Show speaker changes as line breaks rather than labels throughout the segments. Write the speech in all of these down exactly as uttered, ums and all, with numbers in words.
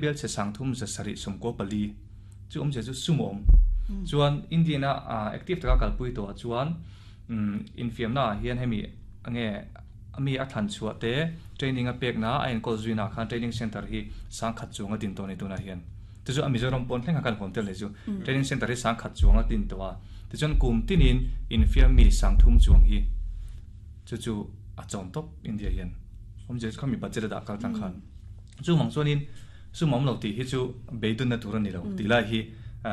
Bel che sang thum za sarih sawmkaw pali chu awmzia chu sumawm chuan Indian-a active taka kalpui tawhah chuan infiamna ah hian hemi nge mi a thlan chhuah te training a pekna a enkawl zuina ah khan training center hi sangkhat chuang a din tawh a ni tunah hian chu chu a Mizoram pawn thleng kha kan huam tel leh chu training center hi sangkhat chuang a din tawh a tichuan kum tinin infiam mi sangthum chuang hi chu chu a chawm tawp India hian awmzia chu khami budget a dah kal tlang khan chu mang chuanin sum awm lo tih hi chu beidunna tur a ni lo tih lai hi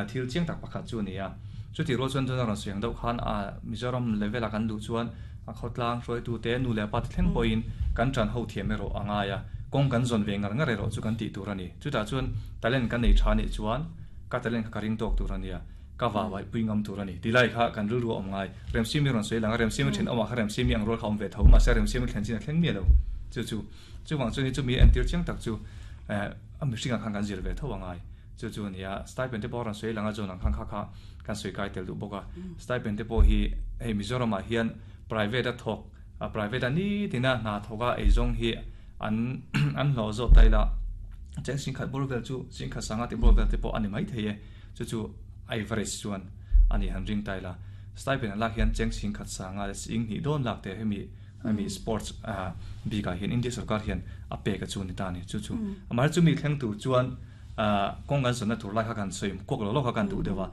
thil chiang tak pakhat chu a ni a. Chuti rual chuan chuan a rawn sawi ang deuh khan a Mizoram level a kan duh chuan a khawtlang hruaitute nu leh pa te thleng pawhin kan tan ho thiam erawh a ngai a, kawng kan zawn ve ngar ngar erawh chu kan tih tur a ni. Chutah chuan talent kan nei tha nih chuan ka talent kha ka ring tawk tur a nia, ka vahvaih pui ngam tur a ni tih lai kha kan rilru a awm ngai. Remsimi rawn sawi lang a, Remsimi then awmah kha Remsimi ang rual kha awm ve tho mahse Remsimi thlen chin a thleng miah lo. Chu chu chuvang chuan hi chumi entir chiang tak chu a mihringah khan kan zir ve tho a ngai. Chu chu a ni a, stipend te pawh a rawn sawi lang a, zawn ang khan kha kha kan sawi kai tel duh bawk a. Stipend te pawh hi hei Mizoramah hian private a thawk, private a nitina hna thawk a eizawng hi an an hlawh zawk ta ila cheng singkhat bawr vel chu singkhat sanga tih bawr vel te pawh a ni maithei e. Chu chu average chuan a ni han ring ta ila. Stipend an lak hian cheng singkhat sanga leh sing hnih dawn lak te hemi hemi sports bikah hian India sorkar hian a pek a chu a ni ta a ni. Chu chu amaherawhchu chumi thleng tur chuan kawng kan zawnna tur lai kha kan sawi kuak lo lo kha kan duh deuh a.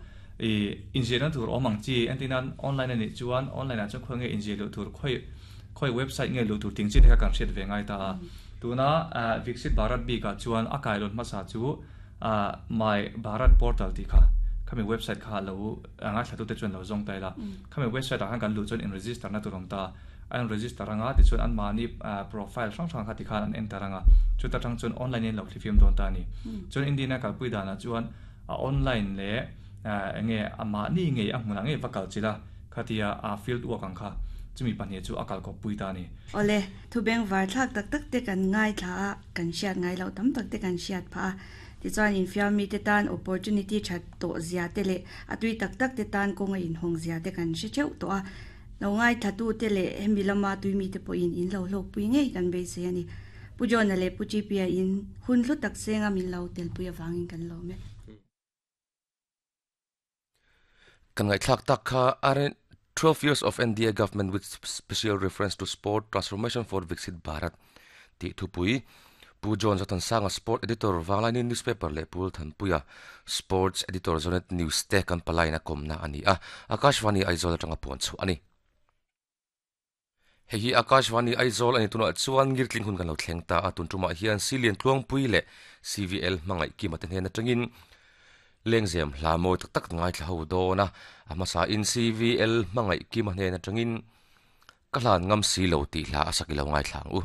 Ih inziahna tur awm ang chi entir nan online a nih chuan online ah chuan khawi nge inziah luh tur khawi khawi website nge luh tur ting chi te kha kan hriat ve ngai ta a. Tuna Viksit Bharat bikah chuan a kailawn hmasa chu My Bharat Portal tih kha khami website kha lo ngaithlatute chuan lo zawng ta ila. Khami website ah khan kan luh chuan in register na tur awm ta a. A in register anga tichuan anmahni profile hrang hrang kha tikhan an enter anga chuta tang chuan online in lo thlifim dawn ta a ni. Chuan Indian a kalpui danah chuan a online leh enge amahni ngei a hmunah ngei va kal chila khatia a field work ang kha chumi pahnih chu a kalkawp pui ta a ni.
Awle, thu bengvar thlak tak tak te kan ngaithla a, kan hriat ngai loh tam tak te kan hriat phah a. Tichuan infiam mite tan opportunity that tawh zia te leh a tui tak tak te tan kawng a inhawng zia te kan hre theuh tawh a. Lo ngaithlatute leh hemi lama tuimite pawhin in lo hlawkpui ngei kan beisei a ni. Pu John-a leh Pu G P-a in hun hlu tak senga min lo telpui avangin kan lawm e.
Kan ngaihthlak tak kha R N twelve years of N D A government with special reference to sport transformation for Viksit Bharat tih thupui Pu John Zothansanga Sport Editor Vanglaini Newspaper leh Pu Thanpuia Sports Editor Zonet News te kan palaiin a kawmna a ni a, Akashvani Aizawl atanga puan chhuah a ni. Hei hi Akashvani Aizawl a ni tunah chuan ngirtling hun kan lo thleng ta a, tun tumah hian Silian Tluangpui leh C V L hmangaih Kima te hnen atangin lengzem hla mawi tak tak ngaithla ho dawn a, a hmasain C V L hmangaih Kima hnen atangin ka hlan ngam si lo tih hla a sak i lo ngaithla ang u.